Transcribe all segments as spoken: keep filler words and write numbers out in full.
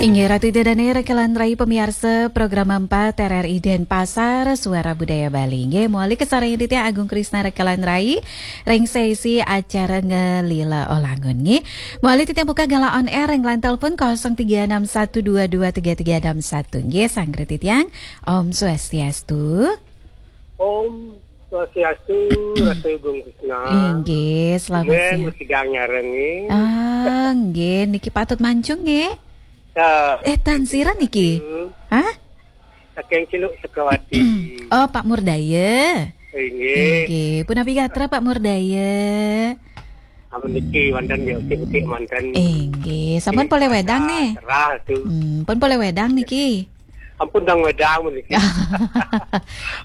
Inggih, Ratu Ida Dane, rekan rai pamiarsa Program empat R R I Denpasar, Suara Budaya Bali. Inggih, mawali kasarengin titiang Agung Krisna rekan rai ring sesi acara Ngelila Olangun, nggih. Mawali titiang buka galah on air ring line telepon kosong tiga enam satu dua dua tiga tiga enam satu, nggih, sanggra titiang. Om Swastiastu. Om Swastiastu, Ratu Agung Krisna. Inggih, selamat Nggih, siang. Mesti gang nyareng, nggih. Ah, nggih, niki patut mancung, nggih. Ya. Eh, tan sira niki? Hmm. Hah? Saking Ciluk Sukawati. Oh, Pak Murdaya. Inggih. Inggih, punapi gatra Pak Murdaya? Amun niki wonten ya, utik-utik manten. Inggih, sampun polih wedang nih? Cerah tu. Hmm, pun polih wedang niki? Ampun, dang wedang niki.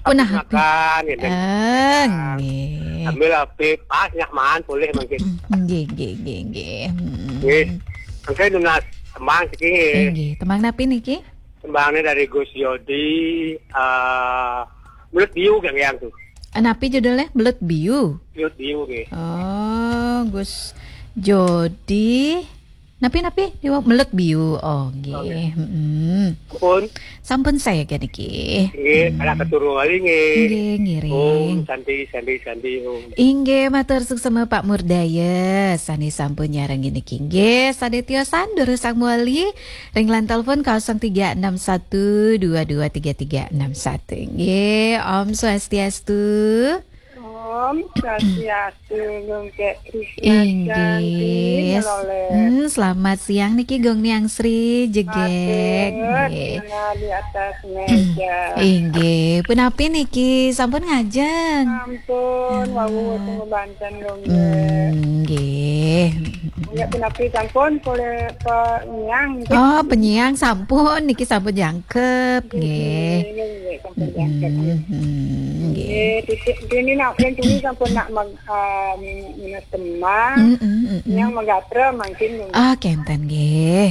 Pun habis makan, ya, dang. Ah, nggih. Sambil habis, pas nyak mangan, polih mangkin. Nggih, nggih, nggih, nggih. Hmm. Nggih. Mangkin nunas tembang siki, nggih. Inggih, tembang napi niki? Tembangnya dari Gus Yodi, eh, Belut Biu, Gang Yang tu. Napi judulnya? Belut Biu? Belut Biu, nggih. Oh, Gus Jodi. Napi, napi? Belut Biu. Oh, nggih. Oh, nggih. Mm-mm. Pun. Sampun saya ke niki. Nggih, hmm. Ada keturun wali, nggih. Nggih, ngiring. Om Santi, Santi, Santi, Om. Inggih, matur suksma Pak Murdaya. Sane sampun nyarengin niki. Nggih, sane tiosan durus sang mawali. Ring line telepon kosong tiga enam satu dua dua tiga tiga enam satu. Nggih, Om Swastiastu. Om Swastiastu, Gung Kek Krisna. Inggih. Cantik, Lolek. Hmm, selamat siang niki Gung Niang Sri Jegek. Matur, nggih. Di atas meja. Inggih, punapi niki sampun ngajeng? Sampun, wau tunggu banten, Gung Kek. Hmm, nggih. Nggih, punapi sampun polih penyiang, nggih. Oh, penyiang sampun, niki sampun jangkep, nggih. Nggih, nggih, sampun jangkep, nggih. Mm-mm, nggih. Nggih, titik, kini nak, yang kini sampun nak mag-, ah, min-, minus tembang. Mm-mm, mm-mm. Yang magatra mangkin, nggih. Ah, kenten, nggih.